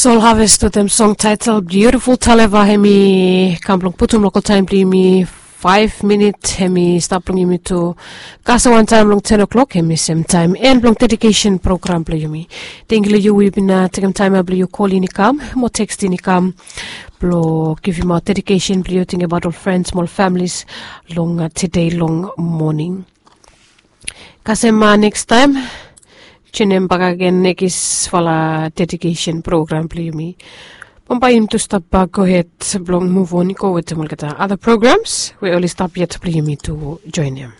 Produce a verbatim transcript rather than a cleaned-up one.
Sol haves wetem song taitel biutiful taleva, hem i kam blong putum lokal taem blong yumi faef minit hem i stap blong yumi tu kasem wantaem long ten o'clock, hem i semtaem en blong dedikesen program blong yumi. Tengiu long yu we yu bin tekem taem ya blong yu kol in i kam mo tekstin i kam blong givimaot dedikesen blong yu, tingibaot ol frens mo ol familis long tede long moning. Kasem nekstaem, tunem bakagen nekisfala dedikesen program blong yumi. Bambae yumi tu stap bak gohed blong muvon i go wetem olgeta ada programs we oli stap yet blong yumi tu joenem.